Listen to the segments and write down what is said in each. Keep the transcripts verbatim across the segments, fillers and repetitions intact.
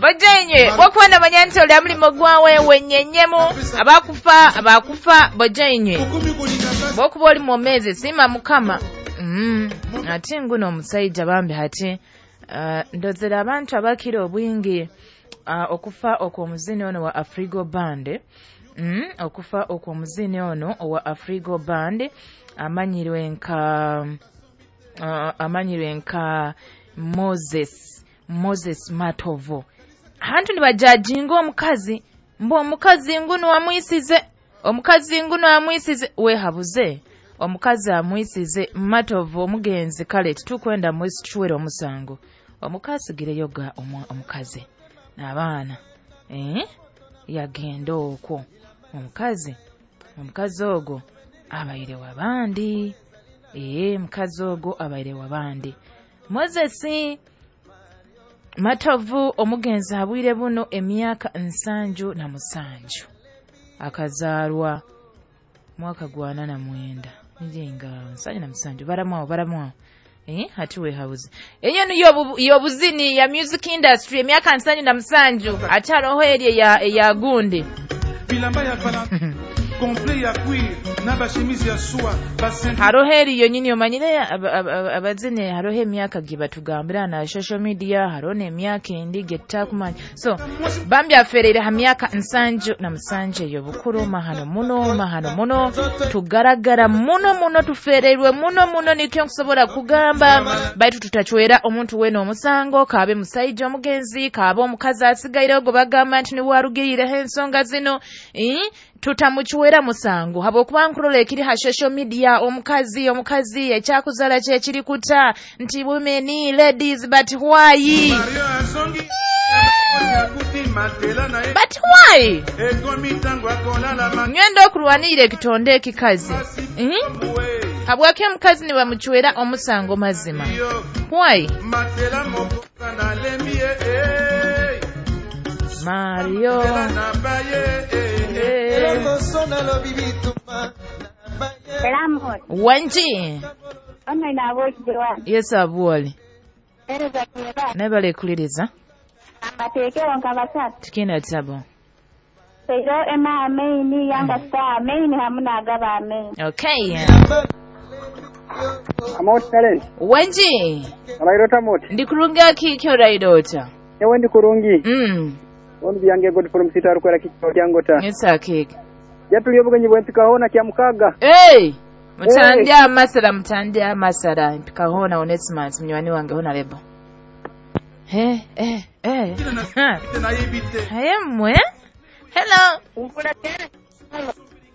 Bojenywe bwokuba namanya nti oli amulimo gwawe wenyenyemu abakufa abakufa bojenywe bwokuba oli mwomezi sima mukama. Mm. Ate nguno omusajja bambi hati uh, ndozera abantu abakira obwingi uh, okufa okw'omuzini ono wa Afrigo Band. Mm, okufa okw'omuzini ono owa Afrigo Band amanyirwe nka uh, amanyirwe nka Moses Moses Matovu. Hantu nibajajinga omukazi mbu omukazi nguno amwisize omukazi nguno amwisize wehabuze omukazi amwisize Matovu omugenzi kale titukwenda mwisichwera omusango omukazi gireyoga omukazi n'abaana eh yagenda okwo omukazi omukazi ogwo abaire wabandi eh mukazi ogwo abaire wabandi. Moses Matovu omugenzi abwire buno emyaka nsanju na musanju akazaalwa mwaka gwa nana mwenda njenga nsanju na musanju baramwawo baramwawo eh hati we house enyo niyo yobuzini ya music industry emyaka nsanju na musanju ataroho eri ya ya gundi bilamba ya vala complet ya cuir na ba chemise ya soie haroho eri yonyini omanyire abazine haroho emyaka gibatugambira na social media haroho emyaka endi getakumanya so bambi aferere ha myaka nsanju na musanje yo bukuru mahano muno mahano muno tugaragara muno muno tufererwe muno muno nikyo nkusobola kugamba baitu tutachwera omuntu weno omusango kabe musaija omugenzi kabe omukazi asigaire ogo bagamba nti niwarugirire ensonga zino eh tutamuchwera musango habwokuba nkurola ekiri ha social media omukazi omukazi ekyakuzala kye kiri kuta nti women ladies but why but why ngendo okulwanira ekitonde ekikazi mm? Habwaki omukazi ni bamuchwera omusango mazima why Mario Wanji Yes abuoli Nebale kuliriza Amateekero nka basatu Tikina tabo Seiro ema ameini yanga star ameini hamuna agaba ameini. Okay. Amot talent Wanji Alairota mot Ndikurunga kikyo raidota Ewe ndikurungi Mm Onu byange god from sita rukwera kikyo kyangota Yes akiki Jatuli obugenyi bwempika hona kya mukaga Hey Mutandya hey. Amasara mutandya amasara mpika hona Onesimus mnywani wange hona lebo He eh eh Haye mwe Hello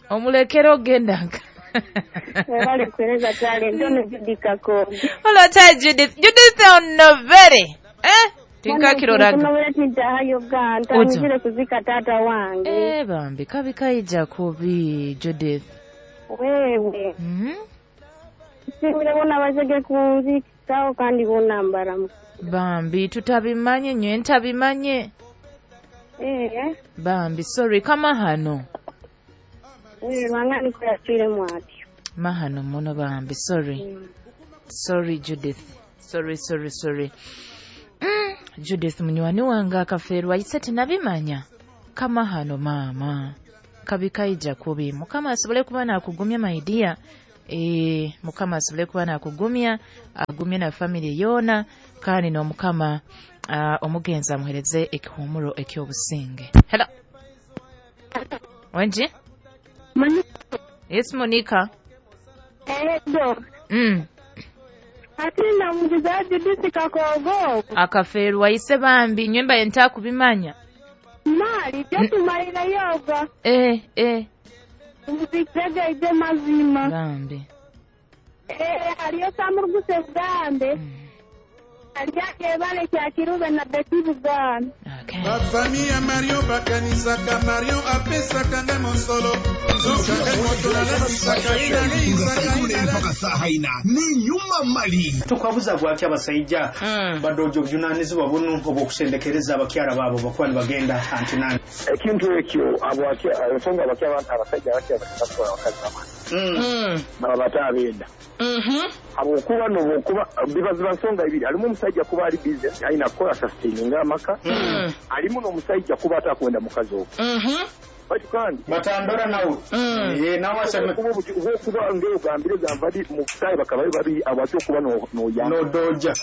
Omulekero ogendanga Webale kueleza talent ono Judith Kakonge Hello ta Judith Judith onovere eh Tinkakiroraga Kunobera tintahayo ganta ngire kuzika tata wange Eh bambi kabi kaija kubi Judith Wewe Mhm Simire bona bazege kunzikawo kandi bona mbaramu Bambi tutabimanye nywe ntabimanye Eh Bambi sorry kama hano Eh wangani kuyachire mwatyo Mahano muno bambi sorry mm. Sorry Judith sorry sorry sorry mm. Judith munywani wange akaferwa ise tinabimanya kama hano mama kabi kaija kubi mukama asobole kuba nakugumya my dear eh mukama asobole kuba nakugumya agumye na family yona kandi no mukama uh, omugenzi amuhereze ekihumuro ekyobusinge. Hello Wenji Monica. Yes Monica Edo Mm Ati na mugiza Judith Kakogo akaferwa ise bambi nyemba enta kubimanya Mali jatumalira yoga Eh eh Muzikega ide mazima Bambi Eh haliyo samuruguse gambe mm. Alyake bale kya kirube na Betty Buganda Okay. Bafami ya Mario bakanisaka Mario apesaka nde mosolo mpaka saha ina ni nyuma mali tukwabuza gwaki abasajja Mm. badojo obuvunanyizibwa buno obw'okusendekereza abakyala baabo bakuba nibagenda antinani ekintu ekyo abasonga abasajja abasajja batwala abakazi bamwe Mm. Baba batabenda. Mhm. Habwokuba nobwokuba biba ziba nsonga ibiri, halimu omusajja kuba ali busy alina kukola sustaininga amaka, Mm. halimu n'omusajja kuba atakwenda mukazi ogwo. Mhm. Baitu kandi Batandora nawe. Mm. Eh, nawe aseme okuba obuti- obwokuba ng'ogambire gamba ndi mu butayi bakabayo babiri abaty okuba no- noyamba nodoja.